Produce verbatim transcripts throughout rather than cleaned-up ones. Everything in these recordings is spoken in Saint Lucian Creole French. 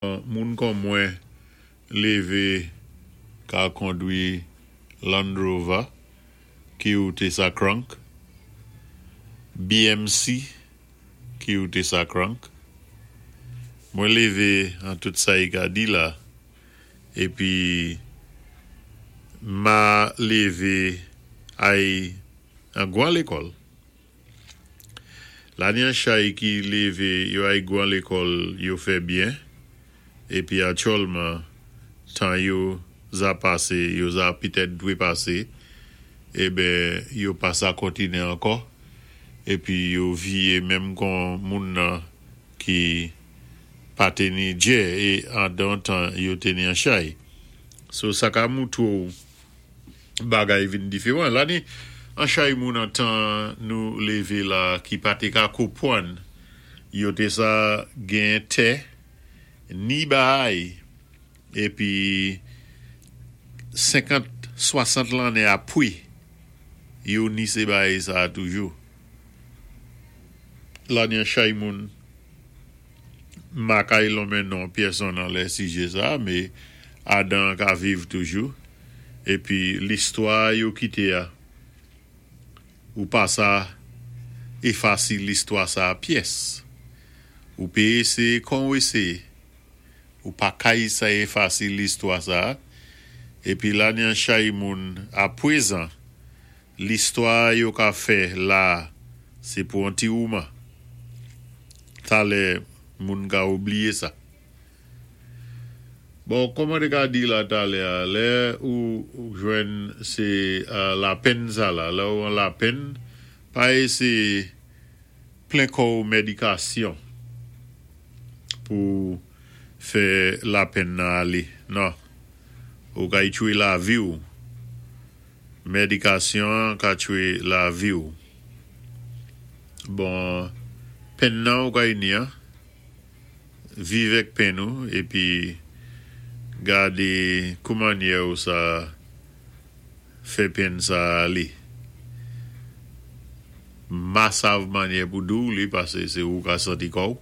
Moun kon mwen lévé ka kondwi Land Rover ki ou té sa crank, B M C ki ou té sa crank. Mwen lévé an tout sa i ka di la épi ma lévé ay an gwan lékòl. La ni an chay ki lévé yo ay gwan lékòl, yo fè byen épi aktyèlman tan yo za pasé, yo za pitèt dwé pasé, eben yo pa sa kontiné ankò épi yo viyé menm kon moun nan ki pa té ni djè é andan tan yo té ni an chay. So sa ka moutwé ou bagay vin diféwan. La ni an chay moun an tan nou lévé la ki pa té ka konpwann, yo té sa gen tè ni baay épi senkant, swasant lanné apwé yo ni sé baay sa toujou. La ni an chay moun ma kay lonmen non pyèsonn an lè sijè sa, mé adan ka viv toujou épi listwa yo kité a, ou pa sa éfasé listwa sa pyès. Ou pé éséyé kon ou éséyé. Ou pa kay sa éfasé listwa sa. Épi la ni an chay moun a pwézan, listwa yo ka fè la, sé pou an ti mouman. Talè moun ka oubliyé sa. Bon, kòman té ka di la talè a, lè ou jwenn sé lapenn sa la, lè ou an lapenn, pa éséyé plen kò ou médikasyon pou fè lapenn nan alé. Non. Ou kay tchwé lavi ou. Médikasyon ka tchwé lavi ou. Bon, penn nan ou kay ni an, viv èk penn ou épi gadé kou mannyè ou sa fè penn sa alé. Ma sav mannyè pou di ou li pasé sé ou ka santi kò ou.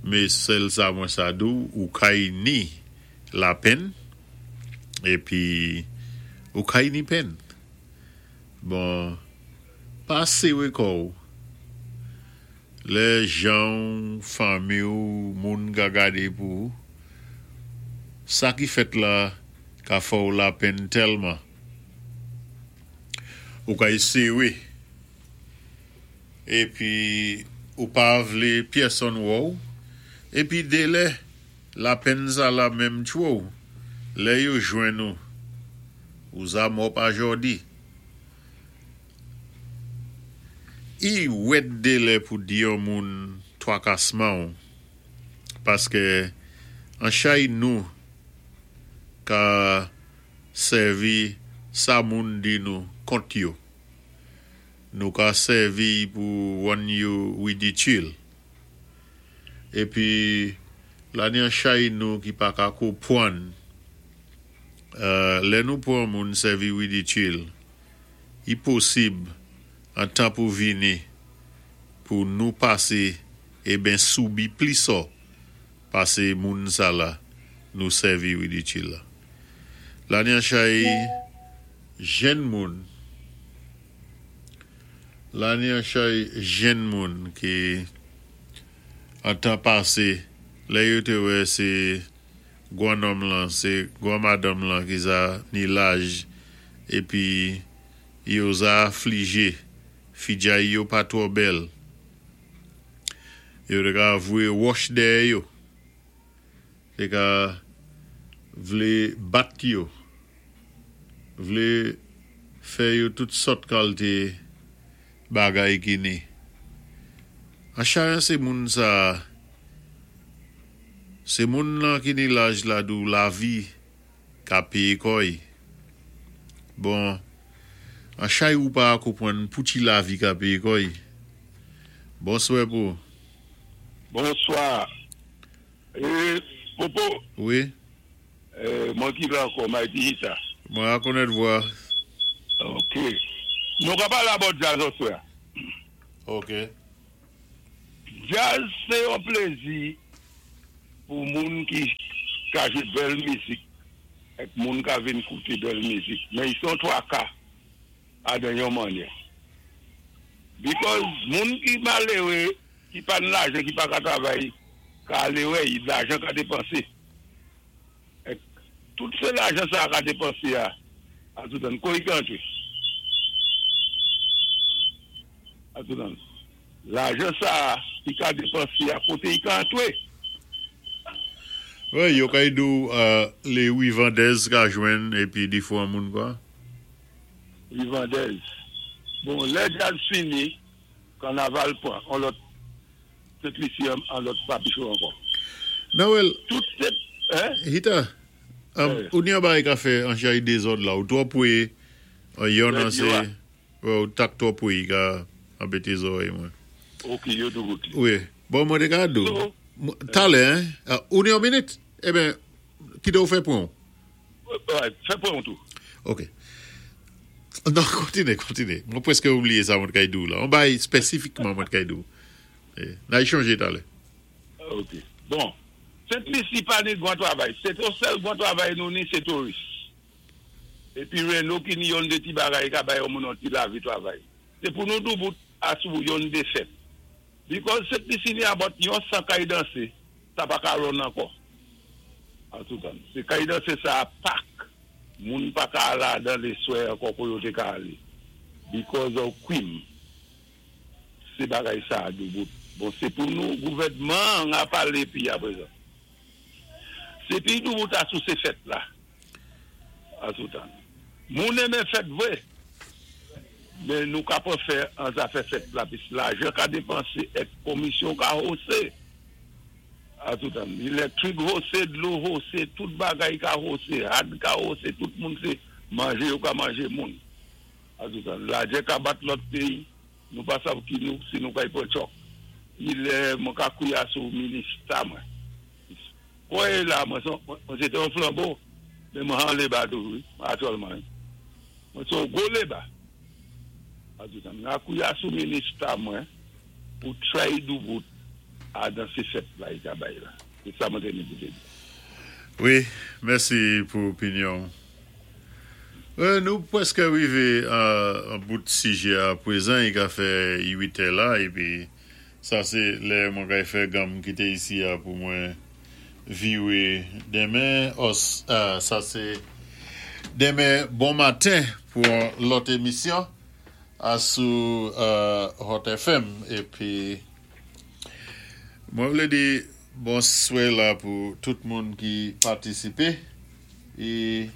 Mé sèl sa mwen sa di ou, ou kay ni lapenn épi ou kay ni penn. Bon, pa séwé kò ou. Lè jan ou, fanmi ou, moun ka gadé pou ou, sa ki fèt la ka fè ou lapenn tèlman. Ou kay séwé. Épi ou pa vlé pyèsonn wè ou. Épi délè lapenn sa la menm tchwé ou. Lè yo jwenn ou, ou za mò pa jòdi. I wèt délè pou di yon moun twakasman ou paské an chay nou ka sèvi sa moun di nou kont yo. Nou ka sèvi pou wann yo ridikil. Épi la ni an chay nou ki pa ka konpwann, lè nou pwan moun sèvi ridikil, i posib an tan pou vini pou nou pasé eben soubi plis ò pasé moun sa la nou sèvi ridikil la. La ni an chay jenn moun, la ni an chay jenn moun ki an tan pasé, lè yo té wè sé gwan nonm lan, sé gwan madanm lan ki za ni laj épi yo za aflijé, fidjay yo pa twò bèl. Yo té ka voyé wòch dèyè yo. Té ka vlé bat yo. Vlé fè yo tout sòt kalité bagay ki ni. An chay an sé moun sa, sé moun lan ki ni laj la di ou lavi ka péyé kò'y. Bon, an chay ou pa konpwann pouti lavi ka péyé kò'y. Bonswè pou. Bonswa. É, Popo. Wi. É, mwen ki la ankò, Mighty Issa. Mwen akonèt vwa. Ok. Nou ka palé about djaz oswè. Ok. Djaz, sé yon plézi. Pou moun ki ka jwé bèl mizik, èk moun ka vin kouté bèl mizik. Men i son twaka adan yon mannyè. Because moun ki maléwé, ki pa ni lajan, ki pa ka travay, ka alé wè, i lajan ka dépansé. Èk tout sé lajan sa ka dépansé a, a toutan, kou i ka antré? A toutan. Lajan sa ki ka dépansé a, koté i ka antré? Wi, yo kay di ou lé Rivandez ka jwenn épi di fwa moun kwa? Rivandez. Bon, lè djaz fini, kanaval pwan, an lòt Sent-Lisi an lòt papichou ankò. Nawel, Tout sé, hein? Hita, ou ni an bagay ka fè an chay dézòd la, ou twò pwé, yon an sé, ou tak twò pwé ka anbété zòwèy mwen. Ok, yo dou bout li. Wi, bon mwen té ka di ou. Talè, hein? Ou ni yon minit? Eben, kité ou fè pwen ou? Fè pwen ou tou. Ok. Non, kontiné, kontiné. Mwen pwèské oubliyé sa mwen kay di ou la. On bay spesifikman mwen kay di ou. Na y chanje talè. Ok. Bon, Sent-Lisi pa ni gwan travay. Se to sèl gwan travay nou ni, se touris. Épi Reno ki ni yon dé ti bagay ka bay yon moun an ti lavi travay. Sé pou nou doubout asou yon dé fèt. Because Sent-Lisi ni about yon san kay dansé, sa pa ka run ankò. An toutan. Se kay dansé sa a pak, moun pa ka al ladan lé swè ankò kou yo té ka alé. Because of kwim. Se bagay sa a doubout. Bon, sé pou nou gouvèdman an palé pi aprezan. Se pi doubout asou sé fèt la. Asoutan. Moun enmen fèt vwé. Men nou ka pa fè an zafè fèt la. Pis lajan ka dépansé èk komisyon ka hosé. Asoutan. Élektrik hosé, dlo hosé, tout bagay ka hosé, had ka hosé, tout moun sé manjé yo ka manjé moun. Asoutan. Lajan ka bat lòt péyi. Nou pa sav ki nou, si nou kay pwan chòk. I lè mwen ka kouya sou minista mwen. Kouye la, mwen se te yon flanbo, men mwen han léba tou, aktyèlman. Mwen son gwo léba. Mwen kouya sou minista mwen, pou try doubout adan sé fèt la, i ka bay la. Se sa mwen te ni pou te di. Wi, mèsi pou opinyon. Nou pwèské rivé an bout sijè a pwézan, i ka fè uitè la, épi sa sé lè mwen kay fè gam kité isi a pou mwen viwé denmen, sa sé denmen bon maten pou lòt émisyon asou Hot F M, épi mwen vlé di bonswè la pou tout moun ki patisipé, e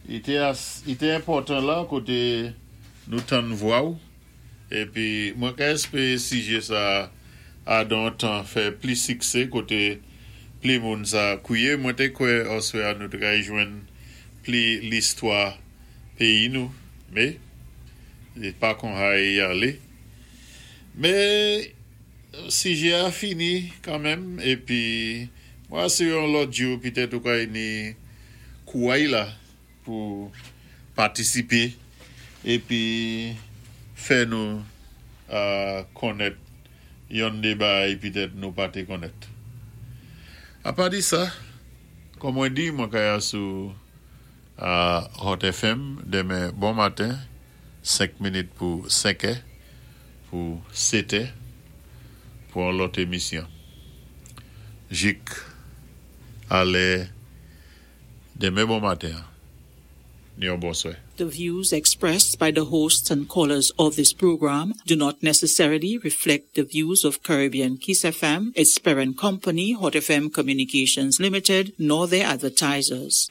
i té enpòtan la koté nou tann vwa ou. Épi mwen ka éspéwé sijè sa a don tan fè pli siksé koté pli moun sa kouwé. Mwen té kwè oswè a nou té kay jwenn pli listwa péyi nou. Mé, i pa kon hay y alé. Mé, sijè a fini kanmenm. Épi, mwen asiré yon lòt jou, pitèt ou kay ni kouway la pou patisipé. Épi, fè nou konnèt yon dé bagay pitèt nou pa té konnèt. Apa di sa, kòm mwen di, mwen kay asou Hot F M denmen bon maten, senk minit pou senkè, pou sétè, pou an lòt émisyon. Jik, alé, denmen bon maten, ni yon bonswè. The views expressed by the hosts and callers of this program do not necessarily reflect the views of Caribbean Kiss F M, its parent company, Hot F M Communications Limited, nor their advertisers.